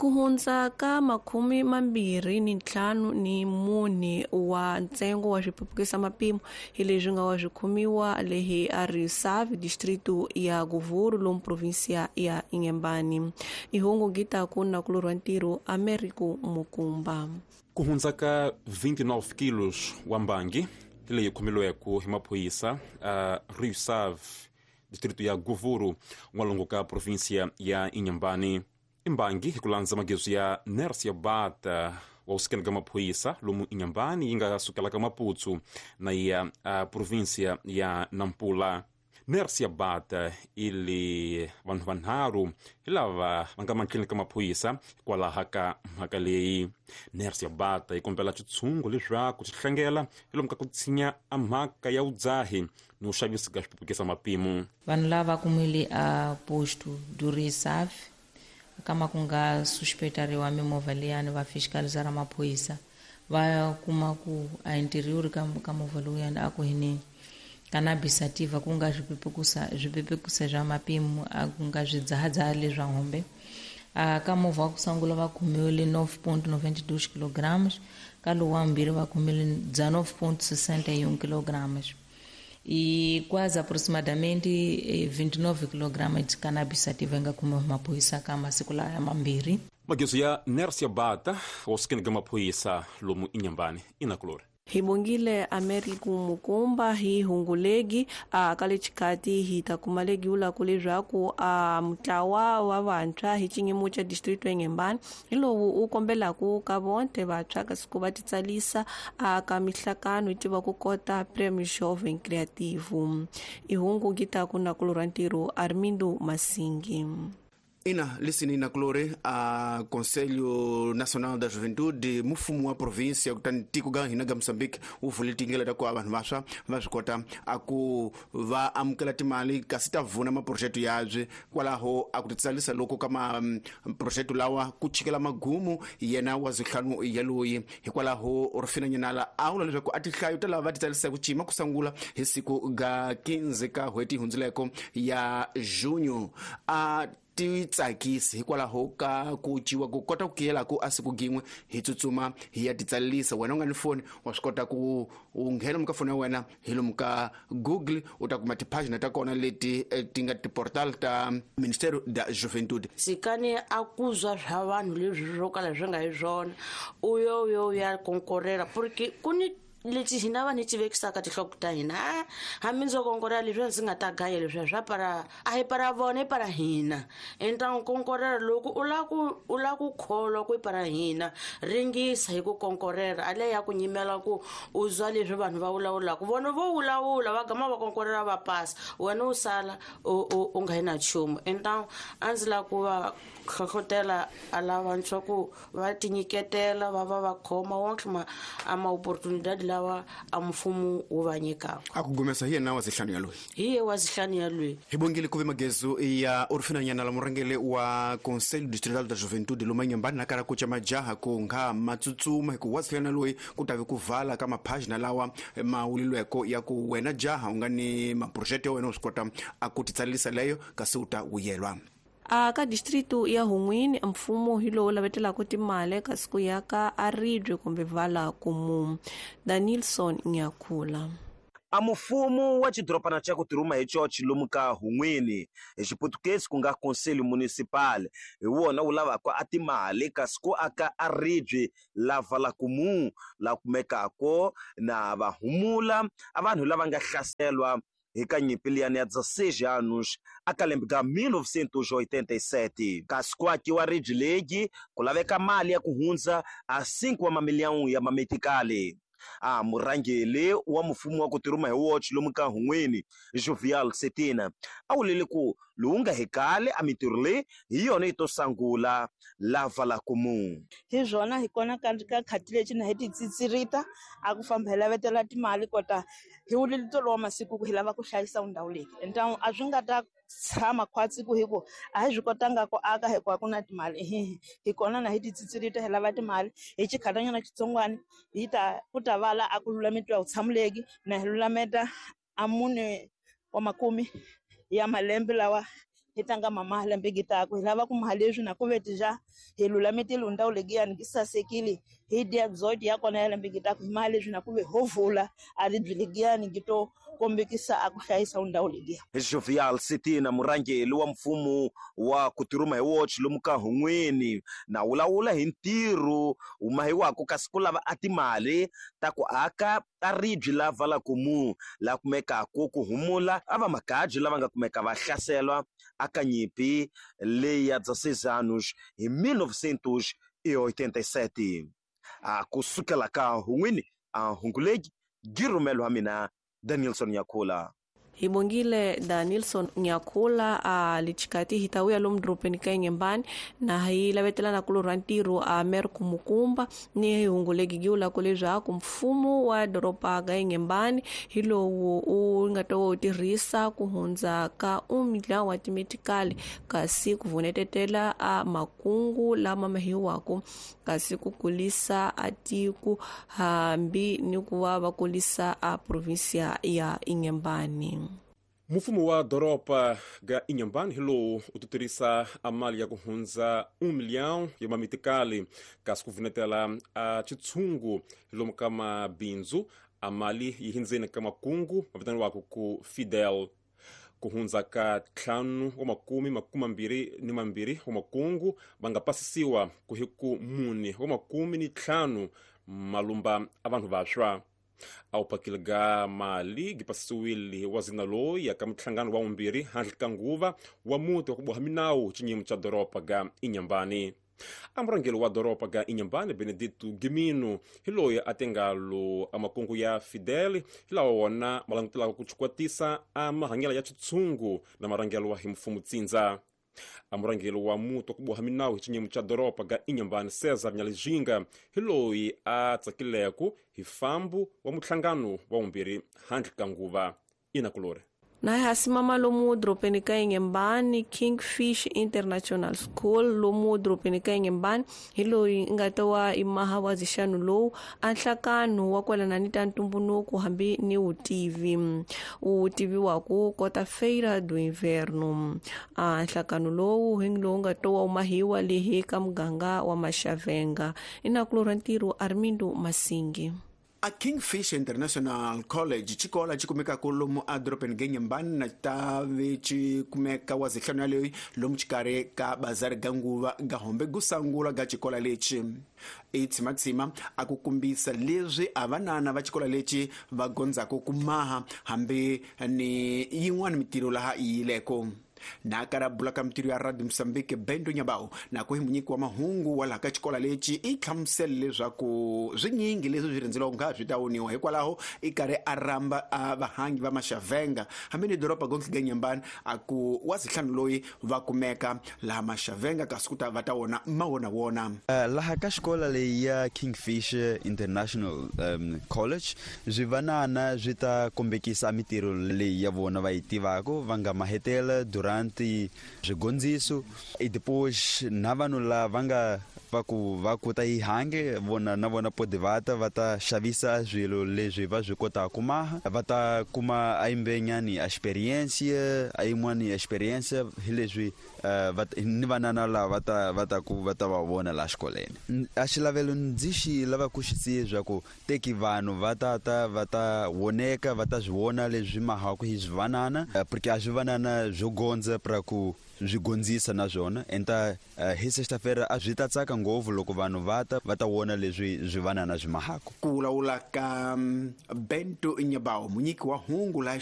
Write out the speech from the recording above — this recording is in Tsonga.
Ku hundza ka 24 wa ntsengo wa swipepukisa mapimo hi leswi nga wa swi khomiwa lehi a Rio Save, distrito ya Govuro, lomu provinsia ya Inhambane. Ihungu gitaku na kulorwa ntirho Americo Mukumba. Ku hundza ka 29 kilos wa mbangi leyi khomilweke hi maphorisa a Rio Save, distrito ya Govuro, n'walungu ka provinsia ya Inhambane. Imbangi hi ku landza magezu ya Nersia Bata wa kusukela ka maphorisa lomu Inhambane yi nga sukela ka Maputo na ya provinsia ya Nampula. Nersia Bata ili vanhu vanharhu hi lava va nga mahlweni ka maphorisa hikwalaho ka mhaka leyi. Nersia Bata yi kombela xitshungu leswaku xi hlangela hi lomu ka ku tshinya a mhaka ya vudzahi ni ku xavisa ka swipupukisa mapimo. Vanhu lava kumile a posto do Rio Save kama ku nga suspetariwa mimovha liyani, va fiscalizara maphorisa va kuma ku a interior ka movha lowuyani a ku hini cannabis sativa, ku nga swipepekusa swa mapimo, a ku nga swidzahadzaha leswa hombe. Ka movha wa ku sungula va khomiwile 9.92 kilograms, ka lowu wa mbirhi va khomile 19.61 kilograms e quase aproximadamente 29 kg de cannabis sativa nga khomiwa hi maphorisa ka masiku laya mambirhi. Magezu ya Nersia Bata wa sukeni ka maphorisa lomu Inhambane inakulori. Hi bongile Americo Mukumba hi hungulegi a ka le xikati hi ta kuma legi vulaku leswaku a mutlawa wa vantshwa hi xinyimo xa distrito ya Inhambane hi lowu u kombelaku ka vonte vantshwa kasi ku va titsalisa a ka mihlakano yi tiva ku kota Premio Jovem Criativo. Ihungu gitaku na kulorwa ntirho Armindo Masingi. Ina lisini na kulore a Conselho Nacional da Juventude, mufumo wa província kutani tiko ga hina ga Moçambique wu vule tindlela ta ku vanhu vantshwa va swi kota a ku va amukela timali kasi ta vuna maprojeto yabye. Kwalaho a ku titsalisa loko ka maprojeto lawa ku chikela magumu yena wa zihlanu ya loyi. Hikwalaho Rufina Nyanala a vula leswaku a tihlayo ta lava va titsalisa ku cima ku sungula hi siku ga 15 ka n'hweti hundzileko ya junho a ti tsakisi hikwalaho ka ku ciwa ku kota ku kiyela ku a siku gin'we hi tsutsuma hi ya titsalisa. Wena u nga ni foni wa swi kota ku u nghena muka foni ya wena hi lomu ka Google u ta kuma tiphajina ta kona leti ti nga tiportal ta Ministério da Juventude. Tshikani a ku zwa swa vanhu leswi swo kala swi nga hi swona, u yo yo ya konkorela porque ku ni leti hina vanhu hi ti vekisaka tinhloko ta hina. Hambi ndzo konkorela leswiya ndzi nga ta gaya leswiya swa para, a hi para vona, i para hina. Enta konkorela loko u la ku kholwa ku i para hina, ringisa hi ku konkorela a le ya ku nyimela ku u zwa leswi vanhu va vulavulaka. Vona vo vulavula va gama va konkorela va pasa, wena u sala u nga yi na nchumu. Enta a ndzi lava ku va hlohlotela a lavantshwa ku va tinyiketela va va va khoma wonke a ma-opportunidade lawa a mfumo wu va nyikaka. A ku gumesa hi yena wa zihlanu ya loyi. Hi ye wa zihlanu ya loyi. Hi bongile ku ve magezu ya Orfina Nyanala, murhangeri wa Conselho Distrital da Juventude lomu Inhambane, na kala ku ca majaha ku nga matsutsuma hi ku wa zihlanu ya loyi ku ta ve ku vala ka maphajina lawa ma wulilweko ya ku wena jaha u nga ni maprojete ya wena u swi kota a ku titsalisa leyo kasi u ta vuyelwa. A ka distrito ya Hun'wini, mfumo hi lowu lavetelaka timali kasi ku ya ka a ribye kumbe vala kumu. Danilson Nyakhula. A mufumo wa xidorobana xa ku tirhuma hi chochi lomu ka Hun'wini hi xiputukezi ku nga Conselho Municipal hi wona wu lavaka a timali kasi ku aka a ribye la vala kumu la kumekako na va humula a vanhu lava nga hlaselwa hi ka nyimpi liyani ya 16 anos a ka lembe ka 1987. Kasi ku akiwa ribye legi ku laveka mali ya ku hundza a 5 wa mamiliyoni ya mametikali. A murhangeri wa mfumo wa ku tirhuma hi woxe lomu ka Hun'wini Jovial Setina a wulile ku lowu nga hi kale a mintirho leyi hi yona yi to sungula la vala kumu. Hi swona hi kona ka khati lexi na hi titsitsirita a ku famba hi lavetela timali kota hi wulile tolo wa masiku ku hi lava ku hlayisa ndhawu leyi. Enta a swi nga ta tshama khwatsi ku hi ku a hi swi kotanga ku aka hikuva ku na timali. Hi kona na hi titsitsirita hi lava timali hi xikhatanyana xitsongwana hi ta ku ta vala a ku lulametiwavutshamuleki na hi lulameta a mune wa makume ya malembe lawa hi tlanga mamaha lembe gitaku hi lava ku maha leswi na ku vetija hi lulamitile ndhawu legiyani gi sasekile hi dia 18 ya kona ya lembe gitaku hi maha leswi na ku ve ho vula a ri byi legiyani gi to kombekisa a ku hlayisa ndhawu legiya. Jovial Sitina, murhangeri wa mfumo wa kutirhuma hi woxe lomu ka Hun'wini, na wulawula hi ntirho wu mahiwaka kasi ku lava a timali ta ku aka a ribye la Valakumu la kumekaka ku humula a va magaji lava nga kumeka va hlaselwa aka nyimpi leyi ya 16 anos hi 1987. A kusukela ka Hun'wini a Hungulegi girumelo wa mina Danielson Nyakula. Hi bongile Danielson Nyakula a lichikati hitawuya lomu doropeni ka Inhambane na hi lavetelana ku lorha ntirho a mer kumukumba ni hungulegi giula ku leswaku mfumo wa doropa ga Inhambane hi lowu u nga ta wu tirhisa ku hundza ka umidla wa timetikali kasi ku vunetetela a makungu lama mahiwako kasi ku kulisa a tiko hambi ni ku va va kulisa a provinsia ya Inhambane. Mfumo wa doropa ga Inhambane hi lowu u tirhisa a mali ya ku hundza 1 milhão ya mamitikali kasi ku vunetela a chitshungu hi lomu ka mabindzu a mali yi hindzeni ka makungu ma vitaniwaka ku Fidel. Ku hundza ka 5 wa makumi 22 wa makungu va nga pasisiwa ku hi ku 4 wa makumi ni 5 malumba a vanhu vaswa. A wu phakile ga mali gi pasisiwile wa zina loyi ya ka muhlangano wa vumbirhi handle ka nguva wa muti wa ku boha minawu xinyimo xa doropa ga Inhambane. A murhangeri wa doropa ga Inhambane Benedito Gimino hi loyi a tingalo a makungu ya Fidel hi lawa wona ma langutelaka ku chikwatisa a mahanyelo ya chitshungu na marhangelo hi mfumo tsindza. A murhangeri wa muti wa ku boha minawu hi xinyimo xa doropa ga Inhambane Cesar Nyalijinga hi loyi a tsakileku hi fambu wa muhlangano wa vumbirhi handle ka nguva. Inakulore na hasimama lomu doropeni ka Inhambane Kingfish International School lomu doropeni ka Inhambane hi loyi nga ta wa imaha wa zixano lowu a nhlakano wa kwalana ni ta ntumbunuko hambi ni wutivi wu tiviwaku kota Feira do Inverno. A nhlakano lowu hi lowu nga ta wa umahiwa lehi ka muganga wa Maxavenga. Inakulora ntirho Armindo Masingi. A Kingfish International College xikolo xi kumekaka lomu a doropeni ga Inhambane na tave xi kumeka wa zihlanu yaleyo lomu xikarhi ka bazari ga nguva ga hombe gusangula ga xikolo lexi i tshimatsima a ku kumbisa leswi a vanana va xikolo lexi va gondzaka ku maha hambi ni yin'wana mitirho laha yi yileko. Na karabula ka mitirho ya Radio Mozambique Bendo Nyabao na ku hi munyiki wa mahungu wa laha ka xikolo lexi i hlamusela leswaku swinyingi leswi swi rhendzeliwaka nga swi ta woniwa hikwalaho i karhi a rhamba a vahangi va Maxavenga hambi ni doroba gontlhe ga Inhambane a ku wa zihlanu loyi va kumeka laha Maxavenga kasi ku ta va ta wona ma wona wona. Laha ka xikolo leyi ya Kingfish International College swivanana swi ta kombekisa mitirho leyi ya vona va yi tivaka va nga mahetela durante swigondziso e depois na vanhu lava nga va ku va kuta yi hange vona na vona pode vata va ta xavisa swilo leswi va swi kotaka ku maha va ta kuma a imbenyani experiência a yin'wani experiência hi leswi ni vanana lava va ta ku va ta va vona laha xikolweni. A xilavelo ndzi xi lava ku xi siya swa ku teki vanhu va ta va ta voneka va ta swi vona leswi mahaka hi swivanana porque a swivanana swo gondza pra ku swi gondzisa na swona enta hi sexta-feira a swi ta tsaka ngopfu loko vanhu va ta vona leswi swivanana swi mahaka. Ku vulavula ka Bento Nyabao munyiki wa hungu laha